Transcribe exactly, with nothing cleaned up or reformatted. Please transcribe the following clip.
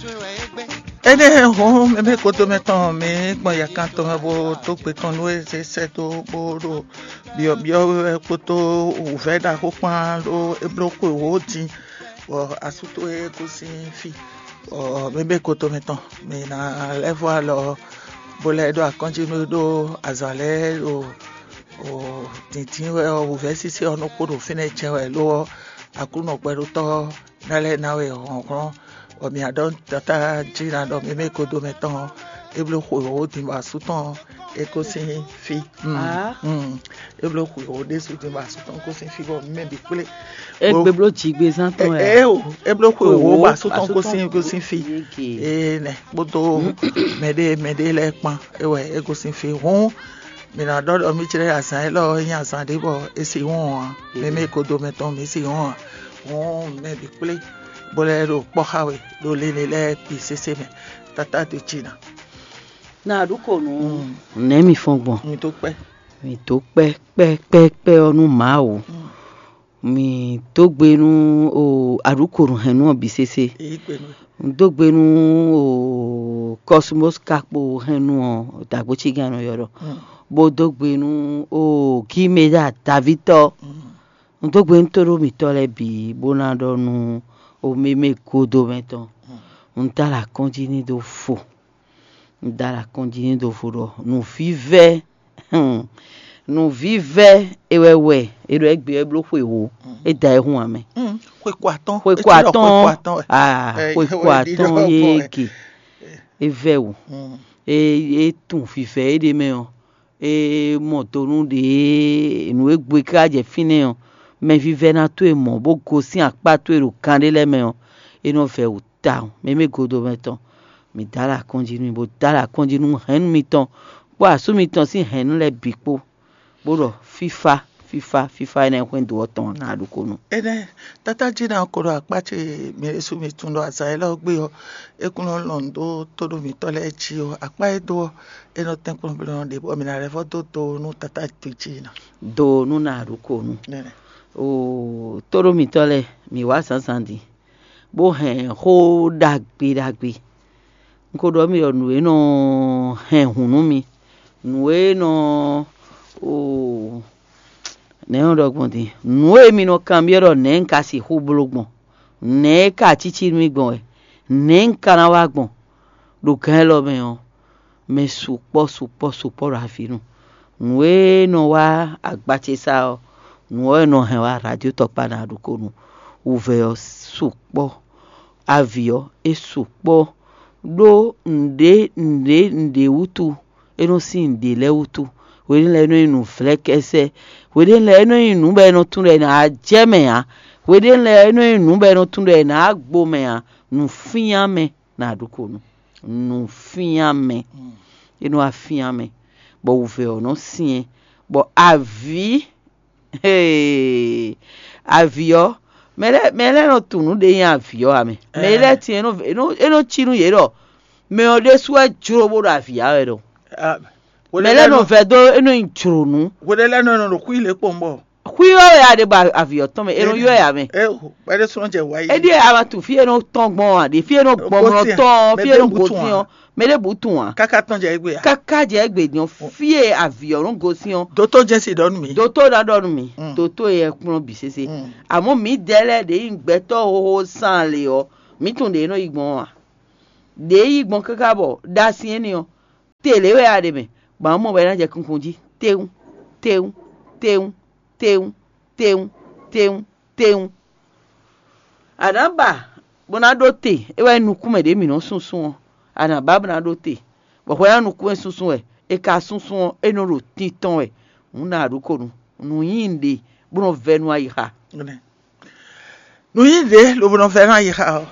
Énɛ́ hɔn mɛmɛ kodomɛ tɔn mi gbɔn yakan tɔn mɛ bó tó gbe tɔn nú e zé sɛ́ dó bó ɖo byɔ̌byɔ́ wɛ kpódó wǔvɛ́ ɖaxó kpán ɖó é bló xwe wǒ din, bɔ asú towe gosín fí, bɔ mɛmɛ kodomɛ tɔn mi ná lɛ́ vɔ alɔ bó lɛ́ ɖó akɔ́njínú ɖó azǎn lɛ́ɛ ɖo dǐndín wɛ ɔ́, wǔvɛ́ sísí ɔ́ nɔ kpo ɖo fínɛ́ jɛ wɛ, lo ɔ́, Aklúnɔ gbɛɖótɔ́ ná lɛ́ ná we hlɔ̌nhlɔ́n, bɔ mǐ ná ɖɔ nú tatá jí ná ɖɔ mɛmɛ kodomɛ tɔn ɔ́, é bló xweyǐwó din bɔ asú tɔn ɔ́, é gosín fí. Mm, mm. É bló xweyǐwó ɖésú din bɔ asú tɔn gosín fí, bɔ mǐ mɛ bǐ kplé. É gbé bló jigbezán tɔn wɛ. Ée o, é bló xweyǐwó bɔ asú tɔn gosín gosín fí. Énɛ́ kpódó mɛɖé mɛɖé lɛ́ɛ kpán, é wɛ é gosín fí. Hǔn mǐ ná ɖɔ ɖɔ mǐ jlɛ́ azǎn élɔ́ ɔ́ nyí azǎn ɖé bɔ é sixú wɔn ǎ. Mɛ mɛ e kodomɛ tɔn mǐ sixú wɔn ǎ. Hǔn mɛ bǐ kplé bó lɛ́ ɖo kpɔ́ xá we ɖo linlin lɛ́ɛ bǐ sésé mɛ. Tatá do jǐ ná. Na ɖu ko nú. Nɛ̌ mi fɔ́n gbɔn? Mi dó kpɛ́. Mi dó kpɛ́ kpɛ́ kpɛ́ kpɛ́ ɔ́ nú Mawu. Mi dó gbe nú o aɖǔkonúhɛnnú ɔ́ bǐ sésé. Èyí gbe nú. Un dó gbe nú o Kɔsumɔ́s kakpo hɛnnú ɔ́ dǎgbócígán nɔ ylɔ́ ɖɔ, bó dó gbe nú o Gímeda Davítɔ́. Un dó gbe nú tóɖó mǐtɔn lɛ́ɛ bǐ bó ná ɖɔ nú o mémé godomɛ tɔn. Un dó alɔ akɔ́njí ní dó fo. Un dó alɔ akɔ́njí ní dó fo ɖɔ nǔvívɛ́, nǔvívɛ́ é wɛ wɛ é ɖɔ égbé wɛ bló xweyǐwó. É da ɛ hún amɛ. Xwe ko atɔ́n. Xwe ko atɔ́n. Aa, xwe ko atɔ́n yége. É vɛ́ wǔ. É é tunwun vivɛ éɖée mɛ ɔ́, é mɔ do nú ɖě nǔ e gbe ká jɛ fínɛ́ ɔ́, mɛvívɛ́ná towe mɔ bó gosín akpá towe ɖo kan ɖé lɛ́ɛ mɛ ɔ́, é nɔ vɛ́ wǔ tawun. Mɛ mɛ godomɛ tɔn, mǐ dó alɔ akɔ́njí nú mì, bó dó alɔ akɔ́njí nú hɛ̌nnu mitɔn kpó asú mitɔn sín hɛ̌nnu lɛ́ɛ bǐ kpó, bó ɖɔ fífá, fífá, fífá énɛ́ hwɛ́n dǒ ɔ́ tɔn ná ɖokpónɔ. Énɛ́, tátájí ná ko ɖo akpá ce mǐ ɖésú mi tunwun ɖɔ azǎn élɔ́ gbe ɔ́, é kún nɔ lɔn nǔ dó tóɖó mǐtɔn lɛ́ɛ jí ɔ́, akpá e dó ɔ́, é nɔ tɛ́nkpɔ́n bló nɔ ɖě bɔ mǐ ná lɛ́ vɔ́ dó do nú tátájí ná. Do nú ná ɖokpónɔ. Nɛnɛ. Oo, tóɖó mǐtɔn lɛ́ɛ, mǐ wá zǎnzǎn din, bó hɛn xó ɖagbe ɖagbe. Un ko ɖɔ mi ɖɔ nǔ e nɔ hɛn hǔn nú mi, nǔ e nɔ o nɛ̌ nɔ ɖɔ gbɔn din, nǔ e mi nɔ kanbyɔ́ ɖɔ nɛ̌ un ka sixú bló gbɔn, nɛ̌ e ka cí cí nú mì gbɔn wɛ, nɛ̌ un ka ná wa gbɔn ɖo gǎn élɔ́ mɛ ɔ́, mɛ sukpɔ́ sukpɔ́ sukpɔ́ ɖo avǐ nu. Nǔ e nɔ wá agba ce sá ɔ́, nǔ ɔ́ e nɔ hɛn wá radio tɔkpá ná ɖokpónɔ. Wǔvɛ́ ɔ́ sukpɔ́, avǐ ɔ́ é sukpɔ́, ɖó nǔɖé nǔɖé nǔɖé wútu é nɔ sín nǔɖé lɛ́ɛ wútu. Hweɖénu lɛ́ɛ é nɔ nyí nǔvlɛ́kɛ́sɛ́, hweɖénu lɛ́ɛ é nɔ nyí nǔ bɔ è nɔ tunwun ɖɔ è nǎ jɛ mɛ ǎ, hweɖénu lɛ́ɛ é nɔ nyí nǔ bɔ è nɔ tunwun ɖɔ è nǎ gbo mɛ ǎ. Nǔfíán mɛ ná ɖokpónɔ. Nǔfíán mɛ, é nɔ wá fíán mɛ, bɔ wǔvɛ́ ɔ́ nɔ syɛ́n, bɔ avǐ Ee, avǐ ɔ́, mɛ lɛ́ɛ mɛ lɛ́ɛ nɔ tunwun nǔ ɖé nyí avǐ ɔ́ ǎ mɛ. Mɛ lɛ́ɛ tin e nɔ e nɔ e nɔ cí nú yě ɖɔ mɛ ɔ́ ɖésú wɛ jló bó ɖo avǐ ya wɛ ɖɔ. Mɛ lɛ́ɛ nɔ vɛ́ dó é nɔ nyi jlǒnú. Hweɖé lɛ́ɛ nɔ nɔ ɖo xwí lě kpɔn bɔ. Xwí ɔ́ wɛ a ɖe bɔ avǐ ɔ́ tɔn mɛ, è nɔ ylɔ́ ɛ ǎ mɛ. Ɛ o, bɛ́ ɖésú nɔ jɛ wǎ yí. É ɖíe a ma tunwun fí e nɔ tɔn gbɔn ǎ, ɖě fí e nɔ gbɔn mlɔ tɔn, fí e nɔ gosín ɔ́, mɛ ɖé bǔ tunwun ǎ. Káká tɔn jɛ égbé ǎ. Káká jɛ égbé din ɔ́, fí e avǐ ɔ́ nɔ gosín ɔ́, Dótó Jɛsi ɖɔ nú mǐ. Dótó ná ɖɔ nú mǐ, dótó e kplɔ́n bǐ sésé. Àmọ́ mǐdɛɛ lɛ́ɛ ɖě nyí gbɛtɔ́ hoho sán lě ɔ́, mǐ tunwun ɖě e nɔ yi gbɔn ɔ́ ǎ. Ɖě e yi gbɔn káká bɔ ɖa syɛ́n n'i ɔ́, te lě wɛ a ɖe mɛ, bɔ a mɔ bɔ é ná jɛ kunkun jí, téwún, téwún, téwún, téwún, téwún, téwún, téwún. A nǎ ba bó ná ɖó te, é wɛ nyí nukún mɛ ɖě mǐ nɔ́ súnsún ɔ́. A nǎ ba bó ná ɖó te, bɔ hwɛ ná nukún e súnsún wɛ, è ka súnsún ɔ́, é nɔ ɖo tintɔn wɛ. Hǔn nǎ ɖu ko nu, nǔ nyi ɖe bó nɔ vɛ́ nú ayixa. Nǔ nyi ɖě lobo nɔ vɛ́ nú ayixa ɔ́.